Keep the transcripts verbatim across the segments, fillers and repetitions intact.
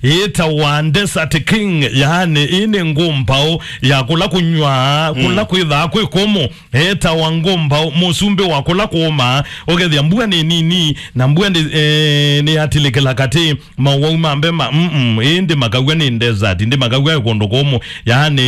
yĩtawa Desert King, yaani ĩĩ nĩ ngũmbaũ ya kũla kũnyw'a, kũla kwĩthaa kwĩ kũmũ. Etawa ngũmbaũ, mũsumbĩ wa kũla kũũmaa, ũkethĩa mbua nĩ nini, na mbua nĩ, eh, nĩyatilĩkĩla katĩ, mawau ma mbema, mm, ĩĩ ndĩmakaw'a nĩ desert, ndĩmakaw'a kũndũ kũmũ, yaani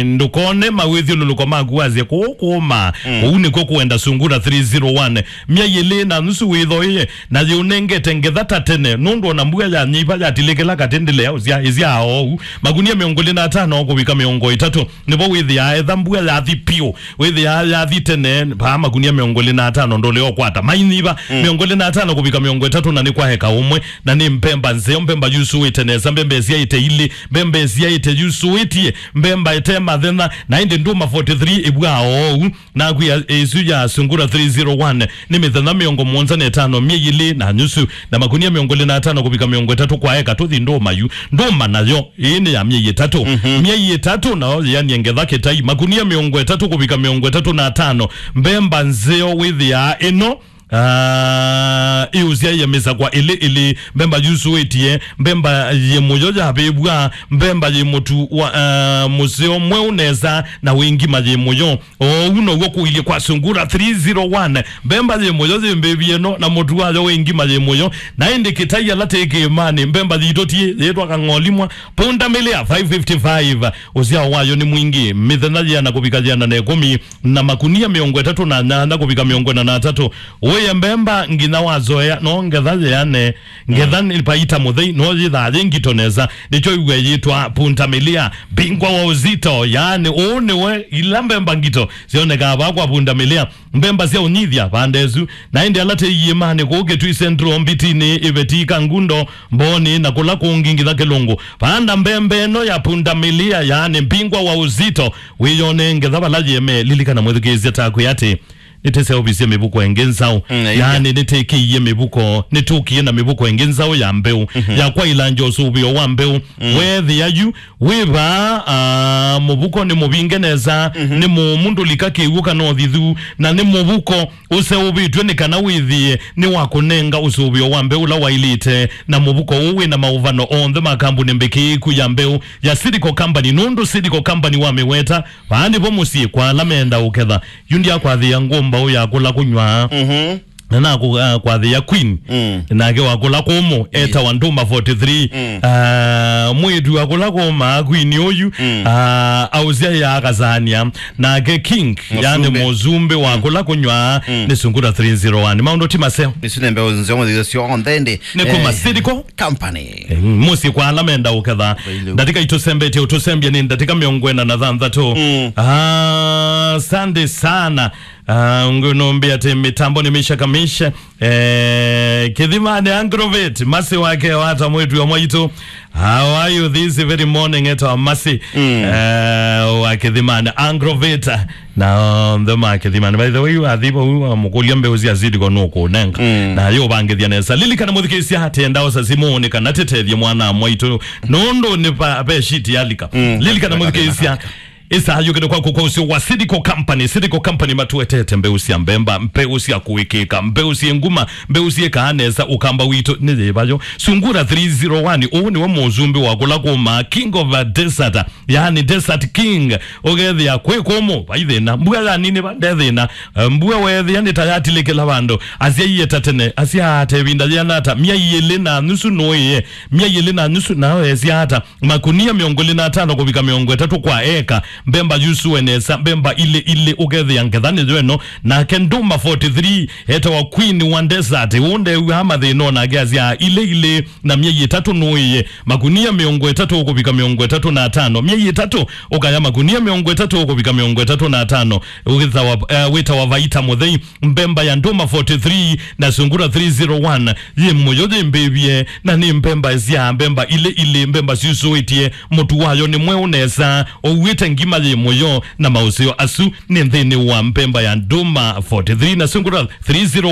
ndũkone mawĩthyũlũlũko maku wasye kũũ kũũmaa. Kũu nĩkw'o kũenda Sungura three zero one, myei ĩlĩ na nusu wĩthoĩe, na yĩũnengete ngetha ta tene, nũndũ ona mbua yanyiva yatilĩkĩla katĩ ndĩlea ũsya, ĩsyaa oou. Makunia mĩongo ĩlĩ na atano kũvika mĩongo ĩtatũ, nĩvo wĩthĩaa etha mbua yathi piũ, wĩthĩaa yathi tene, vaa makunia mĩongo ĩlĩ na atano ndũlea ũkwata. Mainyiva, mĩongo ĩlĩ na atano kũvika mĩongo ĩtatũ, na nĩ kwa eka ũmwe, na nĩ mbemba nzeo, mbemba yusũĩte nesa, mbemba ĩsyaĩte ilĩ, mbemba ĩsyaĩte yusũĩtie, mbemba ĩte mathenya, na ĩndĩ ndũma forty three ĩvwaa oou. Naku ya, ĩsu ya Sungura three zero one nĩ mĩthenya mĩongo mũonza na ĩtano, myei ĩlĩ na nusu, na makunia mĩongo ĩlĩ na atano kũvika mĩongo ĩtatũ kwa eka. Tũthi ndũma yu. Ndũma nayo, ĩĩ nĩ ya myei ĩtatũ. Myei ĩtatũ nayo yĩanie ngetha kĩtai, makunia mĩongo ĩtatũ kũvika mĩongo ĩtatũ na atano. Mbemba nzeo wĩthĩaa ĩno, ah, ĩũsyaĩe mĩsakwa ĩlĩ ĩlĩ, mbemba yusũĩtie, mbemba yĩ mũyo yavĩvw'a, mbemba yĩ mũtu wa, ah, mũseo mweũ nesa, na wĩ ngima yĩ mũyo. Oou now'o kũilyĩ kwa Sungura three zero one. Mbemba yĩ mũyo yĩ mbĩvi ĩno, na mũtu wayo wĩ ngima yĩ mũyo. Na ĩndĩ kĩtai ala tĩ kĩĩmanĩ, mbemba yitũ tiĩ, yĩtwa kang'olimwa. Punda milia five fifty-five. Ũsyao wayo nĩ mwingĩ. Mĩthenya yĩana kũvika yĩana na ĩkũmi, na makunia mĩongo ĩtatũ na nyanya kũvika mĩongo ĩna na atatũ. Ũye mbemba nginya wazoea, no ngetha yĩane. Ngetha nĩ paita mũthei, no yĩthaa yĩ ngito nesa. Nĩkyo iw'e yĩtwa punda milia, mbingwa wa uzito. Yaani, ũũ nĩwe ila mbemba ngito syonekaa vaa kwa punda milia. Mbemba sya ũnyithya vanda ĩsu, na ĩndĩ ala tĩ iĩmanĩ kũu Kitui Central, Mbitinĩ, Iveti, Kangundo, Mbooni, na kũla kũngĩ nginya Kĩlũngũ. Vanda mbemba ĩno ya punda milia, yaani mbingwa wa uzito, wĩyone ngetha vala yĩemee. Lilikana mwĩthukĩĩsya takwĩ atĩ nĩtĩseũvisye mĩvuko ĩngĩ nzaũ. Mm, ĩngĩ. Yaani nĩtĩkĩie mĩvuko, nĩtũkie na mĩvuko ĩngĩ nzaũ ya mbeũ, ya kwaĩlangya ũsũvĩo wa mbeũ. Weethĩa yu wĩ vaa, ah, mũvuko nĩ mũvinge nesa, nĩ mũũmũ, ndũlika kĩw'ũ kana ũthithu, na nĩ mũvuko ũseũvĩtw'e nĩ kana wĩthĩe nĩ wa kũnenga ũsũvĩo wa mbeũ ũla waĩlĩte, na mũvuko ũũ wĩ na maũvano onthe ma kambuni mbĩkĩĩku ya mbeũ ya Seedco Company, nũndũ Seedco Company wamĩweta, vaa nĩvo mũsyĩ kwa ala menda ũketha. Yu ndyakwathĩa ngũmbaũ ya kũla kũnyw'a. Mhm. Na nakwathĩa queen, nake wa kũla kũmũ, etawa Ndũma forty three. Ah, mwĩĩtu wa kũla kũmaa queen ũyu, ah, ausyaĩa akasania, nake king, yani mũsumbĩ wa kũla kũnyw'a, nĩ Sungura three zero one. Maũndũ ti maseo. Isu nĩ mbeũ nzeo mũthithyo syonthe ĩndĩ. Nĩ kuma Seedco Company. Eh, mũsyĩ kwa ala menda ũketha. Ndatĩka itũsembetie, ũtũsembie nĩ ndatĩka mĩongo ĩna na thanthatũ. Ah, asante sana. Ah, ngũnũmbĩa atĩ mĩtambo nĩ Misha Kamisha. Eh, Kĩthimani Agrovet, Masi wake wata mwĩtu wa mwaitũ. How are you this very morning, etawa Masi? Eh, wa Kĩthimani Agrovet. Na onthe ma Kĩthimani. By the way, wathi vau wamũkũlya mbeũ sya Seedco nũkũnenga. Na yo ũvangĩthya nesa. Lilikana mũthikĩĩsya atĩ ndao sa simũ nĩ kana tĩtethye mwana mwaitũ. Nũndũ nĩ pa, pe shiti yalika. Lilikana mũthikĩĩsya. Ĩsaa yũkĩte kwaku kwa ũseo wa Seedco Company. Seedco Company matuetete mbeũ sya mbemba, mbeũ sya kũĩkĩĩka, mbeũ syĩ nguma, mbeũ syĩkaa nesa. Ũkamba witũ nĩ yĩva yo? Sungura three zero one, ũũ nĩwe mũsumbĩ wa kũla kũmaa, King of a Desert, yaani Desert King. Ũkethĩa kwĩ kũmũ, vai thĩna. Mbua yaninĩva, nde thĩna. Eh, mbua weethĩa nĩ ta yatilĩkĩla vandũ. Asyaie ta tene, asyaa ta ĩvinda yĩana ata? Myei ĩlĩ na nusu nũĩe. Myei ĩlĩ na nusu, nao esya ata? Makunia mĩongo ĩlĩ na atano kũvika mĩongo ĩtatũ kwa eka, mbemba yusũe nesa, mbemba ilĩ ilĩ, ũkethĩa ngetha nĩyo ĩno. Nake Ndũma forty three, etawa Queen wa Desert, ũũ ndew'aa mathĩna, onake asyaa ilĩ ilĩ, na myei ĩtatũ nũĩe. Makunia mĩongo ĩtatũ kũvika mĩongo ĩtatũ na atano, myei ĩtatũ, ũkaya makunia mĩongo ĩtatũ kũvika mĩongo ĩtatũ na atano, wĩtawa, eh, wĩtawa Vaita Mũthei. Mbemba ya Ndũma forty three na Sungura three zero one yĩ mũyo yĩmbĩvye, na nĩ mbemba sya mbemba ilĩ ilĩ, mbemba syusũĩtye, mũtu wayo nĩ mweũ nesa, ũuĩte ngima yĩ mũyo, na maũseo asu nĩ nthĩnĩ wa mbemba ya Ndũma forty three na Sungura three zero one.